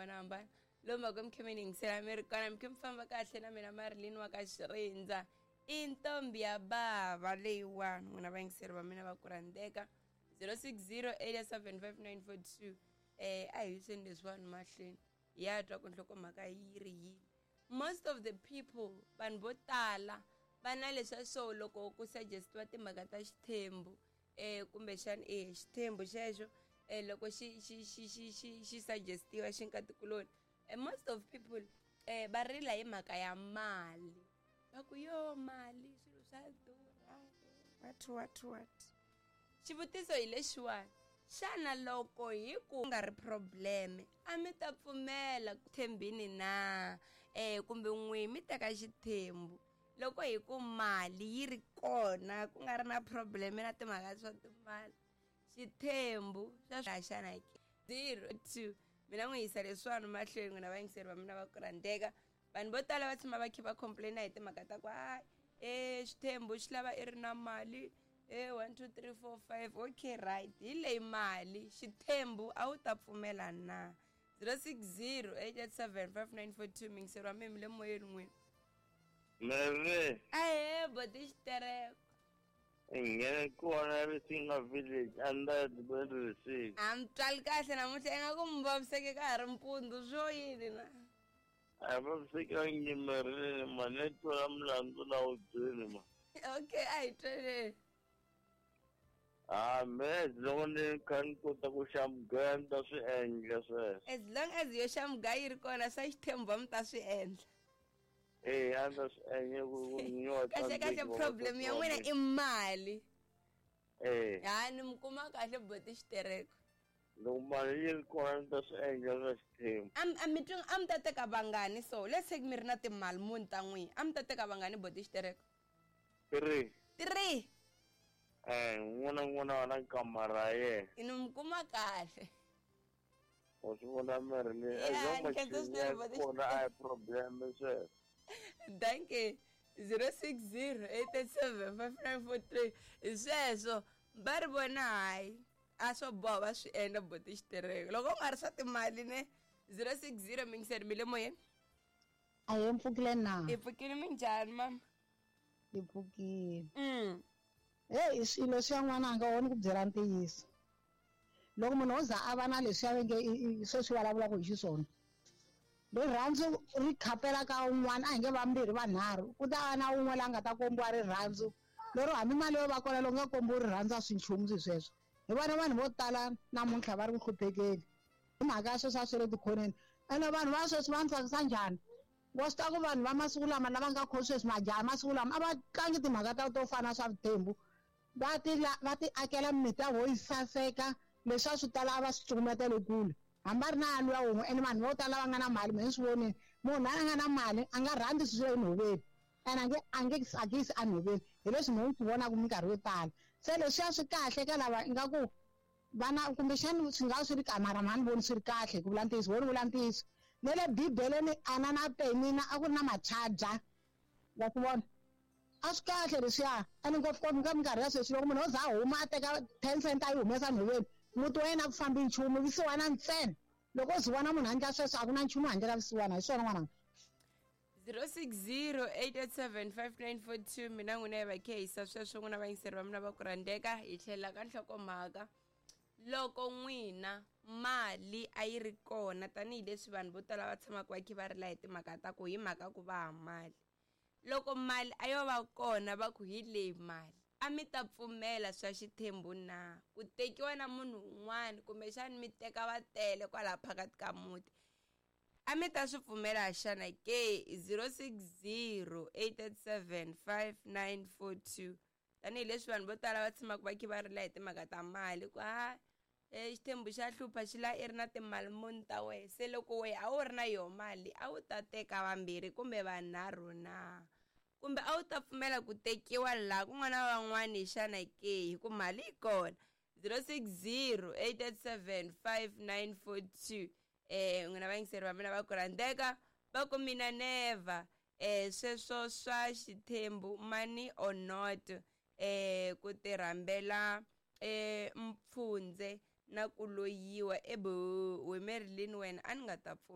hambanahambana lomu va ku mi khe mi ni yingisela mi ri kona mi khe mi famba kahle na mina Marilyn wa ka Xirindza i ntombi ya bava leyiwani n'wina vayingiseri va mina va ku rhandzeka 060 875 a hi yiseni leswiwani mahlweni hi ya twa ku nhlokomhaka yi ri yini. Most of the people, vanhu vo tala va na leswa so loko ku suggestiwa timhaka ta xithembu kumbexana e xithembu xexo loko xi xi xi xi xi xi suggestiwa xi nkatikuloni, most of people va rila hi mhaka ya mali, va ku yo mali swilo swa durha, what what what. Xivutiso hi lexiwani, xana loko hi ku nga ri probleme a mi ta pfumela ku thembini na kumbe n'wi mi teka xithembu loko hi ku mali yi ri kona ku nga ri na probleme na timhaka swa timali, xithembu swa xana ke 02 mina n'wi yisa leswiwani mahlweni n'wina vayingiseri va mina va ku rhandzeka. Vanhu vo tala va tshama va kha va complaina hi timhaka ta ku hayi xithembu xi lava i ri na mali 1 2 3 4 5 okay right hi leyi mali xithembu a wu ta pfumela na 060 887 5942 mingiseri wa mimi le moyeni n'wini. Meve. Ahe boti xitereko. Nghene kona Risinga village under the 26. A mi twali kahle namuntlha ingaku mi vaviseke ka ha ri mpundzu swo yini na? A vavisekangi Marilyn ma ne twela mulandzu la wu byeli ma. Okay a hi tweleni. Ah, me loko ni kha ni kota ku xa mugaya ni ta swi endla sweswo. As long as yo xa mugaya yi ri kona swa xithembu va mi ta swi endla. Eh, a ni ta swi endla ku nyiwa kahle kahle problem ya n'wina i mali. Eh. Ha ni mi kuma kahle boti xitereko. Loko mali yi ri kona ni ta swi endla swa xithembu. A mi twi a mi ta teka vangani so let's say mi ri na timali muni ta n'wina a mi ta teka vangani boti xitereko? 3. 3. N'wana n'wana wa na kamara ya yena. Ni mi kuma kahle. Wa swi vona Marilyn kona a hi problem sweswo. Danke. 060 887 5943 hi sweswo va ri vona hayi a swo boha va swi endla boti xitereko loko u nga ri swa timali ne 060 mingiseri mi le moyeni. A hi mpfukile na? Hi pfukile minjhani mama? Hi pfukile. Hey swilo swa n'wananga wo ni ku byela ntiyiso. Loko munhu o za a va na leswi a nge sweswi vulavulaka hi xiswona, rirhandzu ri khapela ka un'wana a hi nge vambirhi vanharhu ku ta va na un'we la nga ta kombiwa rirhandzu lero hambi mali yo va kona loko nga kombiwi rirhandzu a swi nchumu swi sweswo. Hi vona vanhu vo tala namuntlha va ri ku hluphekeni hi mhaka ya sweswi a swi le tikhoneni. Ene vanhu va sweswi va ni tsakisa njhani? Wa swi tiva ku vanhu va masiku lama lava nga kho sweswi majaha masiku lama a va tlangi timhaka ta to fana swa vuthembu, va ti akela mimiti ya vo yi saseka leswi a swi tala a va swi cukumetele kule hambi a ri na luya wun'we. Ene vanhu vo tala va nga na mali mina ni swi vonile munhu a nga na mali a nga rhandzi swilo swa enhoveni ene a nge tsakisi enhoveni hi leswi mina ni swi vonaka minkarhi yo tala. Se leswiya swi kahle ka lava ingaku vana kumbexani swi nga swi ri kahle mara mhani voni swi ri kahle ku vula ntiyiso, wo ni vula ntiyiso. Ne le bibeleni ana na Penina a ku ri na machaja wa swi vona a swi kahle leswiya. Ene ngopfungopfu ka minkarhi ya sweswi loko munhu o za a huma a teka 10 cent a yi humesa nhoveni muti wa yena a ku fambi nchumu vusiwana ntsena. Loko o zi vona munhu a endla sweswo a ku na nchumu handle ka vusiwana. Hi swona n'wananga. 060 887 5942 mina n'wina hi va khehisa sweswo n'wina vayingiseri va mina va ku rhandzeka. Hi tlhela ka nhlokomhaka loko n'wina mali a yi ri kona tanihileswi vanhu vo tala va tshamaka va kha va rila hi timhaka ta ku hi mhaka ku va ha mali, loko mali a yo va kona va ku hi leyi mali a mi ta pfumela swa xithembu na ku tekiwa na munhu un'wana kumbexani mi teka va tele kwalaha phakathi ka muti a mi ta swi pfumela xana ke? 060 887 5942 tanihileswi vanhu vo tala va tshamaka va kha va rila hi timhaka ta mali ku ha xithembu xa hlupha xi la i ri na timali muni ta wehe se loko wehe a wu ri na yoho mali a wu ta teka vambirhi kumbe vanharhu na kumbe a wu ta pfumela ku tekiwa laha ku nga na van'wani xana ke hi ku mali yi kona. 060 887 5942 n'wina vayingiseri va mina va ku rhandzeka va ku mina never sweswo swa xithembu money or not ku tirhambela mpfundze na ku loyiwa ebo we Marilyn wena a ni nga ta pfumela.